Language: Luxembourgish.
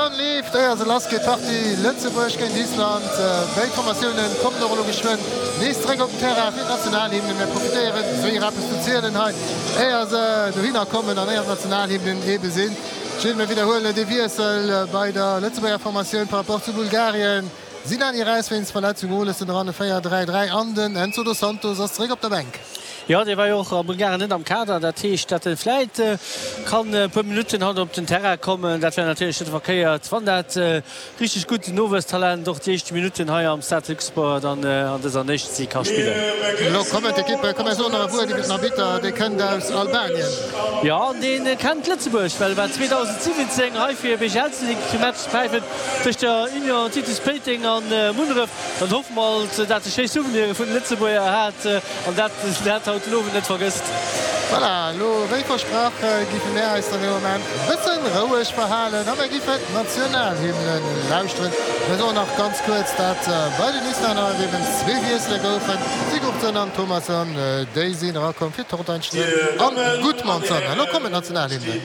Countdown leeft, éier se lass geet, d'Partie Lëtzebuerg géint Island. Béid Formatiounen kommen och elo geschwënn nees zeréck op den Terrain fir d'Nationalhymne. Mir profitéieren séier eppes ze zielen hei, éier se dohinner kommen an éier d'Nationalhymnen ebe sinn. Gilles, mir widderhuelen de Wiessel bei der Lëtzebuerger Formatioun par rapport zu Bulgarien. Sinani eraus wéinst Verletzung, Olesen eran, e 4-3-3 an den Enzo dos Santos ass zeréck op der Bänk. Jo, dee war jo och a Bulgarien net am Kader. Dat heescht, datt e vläit kann e puer Minutten haut op den Terrain kommen. Dat wär natierlech net verkéiert, wann dat richteg gutt Nowuesstalent och déi éischt Minutten hei am Stade de Luxembourg dann an dëser Nations League ka spillen. Elo kommen d'Ekippe. Komm, mir soen nach e Wuert iwwer den Arbitter. Dee kënnt aus Albanien. Jo, an dee kennt Lëtzebuerg, well e war 2017 hei fir e BGL-Match ze päifen tëscht der Union Titus Péiteng a Munneref. Dann hoffe mer alt, dat e schéi Souvenire vun de Lëtzebuerger hat an dat en dat haut den Owend net vergësst. Voilà, elo wéi versprach giffe mär eis dann ee Moment e bëssen roueg verhalen a mär giffen d'Nationalhymne lauschteren. Mir soen nach ganz kuerz, dat bei den Islänner et eben zwee Wiessele goufen, Sigurdsson an Thomasson, déi sinn erakomm fir Thorsteinsson an Gudmundsson. Elo kommen d'Nationalhymnen.